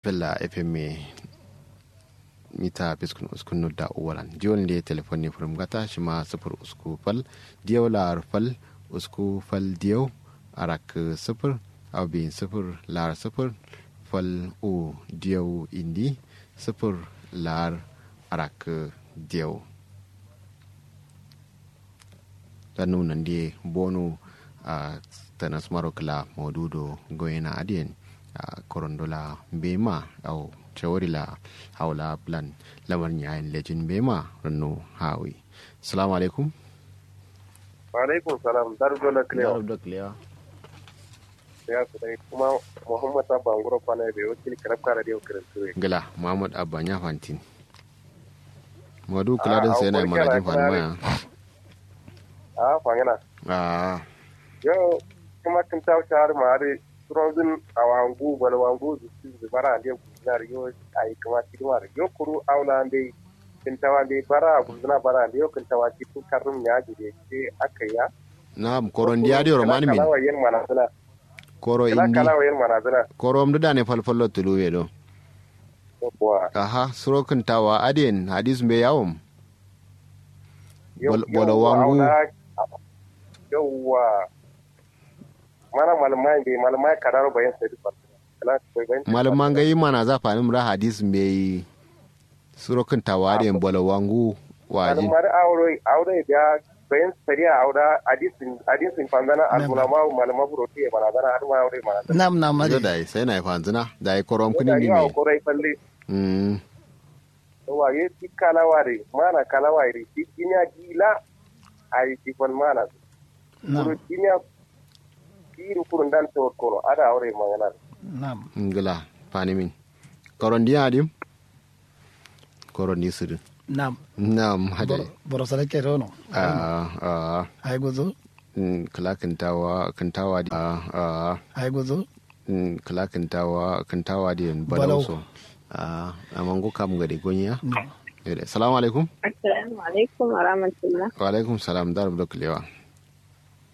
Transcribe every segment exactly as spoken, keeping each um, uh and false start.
Fella fm ye mita fiskun uskun nudda uwalan diwol nde telefon ne furum gata shima sufur usku fal diyau la'ar fal usku fal diyau arak sufur au biyin sufur la'ar sufur fal u diyau indi sufur la'ar arak diyau. Rannu nandi ye bonu a tanasmaro kla maudu do goyena adiyen a korondo la mbema au cawari la hawla blan lamar nyayen lejin mbema rannu hawi. Salamu alaikum. Wa alaikum salam. Daru dola klewa. Daru dola klewa. Ya su dai kuma muhammad abba nguro kwana be wakil karab kara de wakil tuwe. Ngila muhammad abba nya fantin. Maudu kula din sai na manajin fanma ya. A fangana. A yo kuma kin tawo shahar ma ari surozin awangu balwangu zu bara ande gunar yo. Ai kuma kidmar yo kuru aula ande kin tawa ande bara guzna bara ande yo kin tawa ki tu karrum ya ji de ke akaya. Na'am koron diya de romani min. Koro indi koro mdu dane falfallo tuluwe do. Aha suro kintawa adiyen hadis mbe yawom. Bolo wangu. Yawwa. Mana malumai mbe malumai kadaro bayan sai duk malumai ngai mana za fanim ra hadis mbe yi. Suro kintawa adiyen bolo wangu wajin. Malumai aure aure biya bayan sariya aure hadisin hadisin fanzana almulama malama buro tiye manazana har ma aure manazana. Nam nam ade. Dai sai na fanzana dai korom kini ni me. Korai falle. Mm. Wa ye ti kalawa de mana kalawa de ti kinya dila. Ai ti fal mana. Nam. Kuru kinya. Kiru kurun dan to kono ada aure mangana. Nam. Ngila fanimin. Koron diya adim. Koro ni sudin. Nam. Nam hadai. Boro sare ke rono. Aa aa. Ai guzu. Kla kintawa kintawa di aa aa. Ai guzu. Kla kintawa kintawa di balauso. Aa amangu kam gade gonya. Salamu alaikum. Assalamu alaikum wa rahmatullah. Wa alaikum salam dar bdo klewa.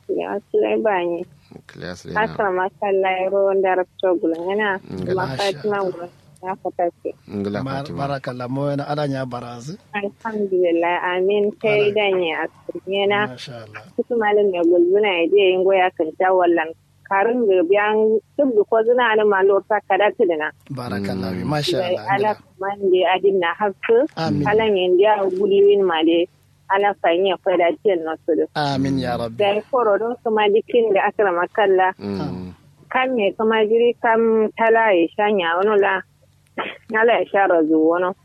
Kiliya sulai bani. Kiliya sulai na. Akara makalla yaro nda rakto gulungana. Ngala. Kuma fatima ngula na fatake. Ngala fatima. Barakalla mo yana ala nya barazu. Alhamdulillah amin kai da ne a kunyena. Masha Allah. Kutu malin ne gulzuna ya je yin goya kan ta wallan. Karin da biyan duk da ko zuna ne ma lorta kada kidina. Barakalla masha Allah. Ala man da adin na hakku. Amin. Ala ne da gulwin ma da. Ala fayin ya faida tiyan no sudu. Amin ya rabbi. Dai koro do kuma dikin da akramakalla. Kam ne kuma jiri kam tala ya sha nya wono la. Ala ya sha razu wono.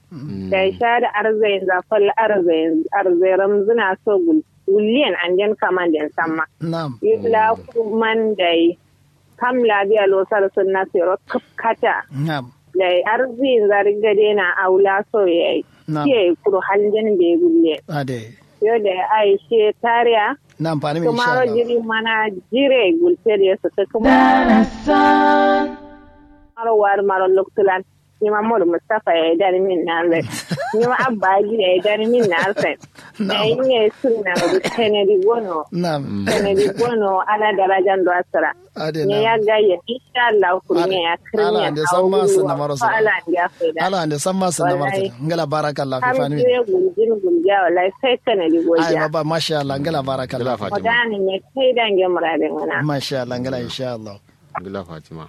Dai sha da arzayin zafal arzayin arzayin ramzuna so gul gulliyan anjen kaman den samma. Nam. Yula kuman dai. Kam labiya losar sunna sero kap kata. Nam. Dai arzi nzari gade na aula so yayi. Nam. Kiye kuro haljen be gulle. Ade. Yo dai aishe tariya. Nam fani min insha Allah. Kumaro jiri mana jire gulte de su kuma. Darasan. Maro war maro loktulan. Nima modu mustafa yayi dani min na zai. Nima abba aji yayi dani min na zai. Yayi ne sunna mudu kennedy gono. Nam. Kennedy gono ala darajan do asira. Ade ne ya gaye insha Allah kurne ya kirne ala ande samma sunna maro sira. Ala ande samma sunna maro sira. Ngala barakallah fi fani. Kam jire guljin gulja wallahi sai kennedy goja. Ai baba masha Allah ngala barakallah. Ngala fatima. Odani ne kai dange murade ngana. Masha Allah ngala insha Allah. Ngala fatima.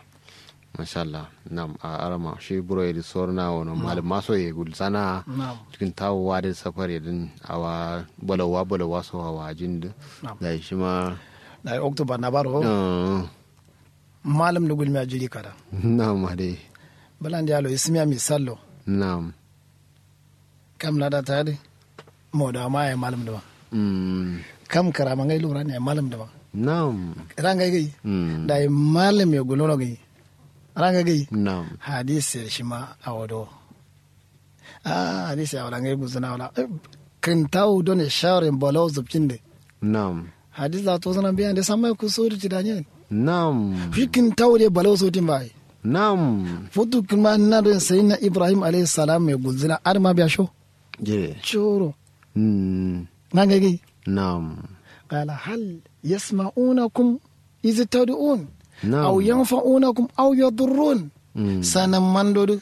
Masha Allah. Nam a arama shi buro yedi sorna wono malum maso ye gulsana. Cikin tawowa da safar yedin awa balawa balawa so awa jin da. Dai shi ma. Dai oktoba na baro. Malum da gulmi a jiri kada. Nam ade. Balan da yalo ismiya misallo. Nam. Kam lada ta yadi. Moda ma yayi malum duma. Kam karama ngai lura ne yayi malum duma. Nam. Rangai gai. Dai malum ya gulono gai. Rangai gai. Nam. Hadis ya shima awodo. Ah hadis ya wala ngai guzuna wala. Kintawu done shawarin bolo zubkin de. Nam. Hadis la to zana biya de samma ku sori ti danye. Nam. Fikin tawde balo sotin bai. Nam. Futu kuma na don sayyidina ibrahim alayhi salam mai guzuna adama biya sho. Jire. Choro. Mm. Nanga gai. Nam. Qala hal yasma'unakum iz tad'un. Nam. Aw yanfa'unakum aw yadurrun. Sanamman do dǝ.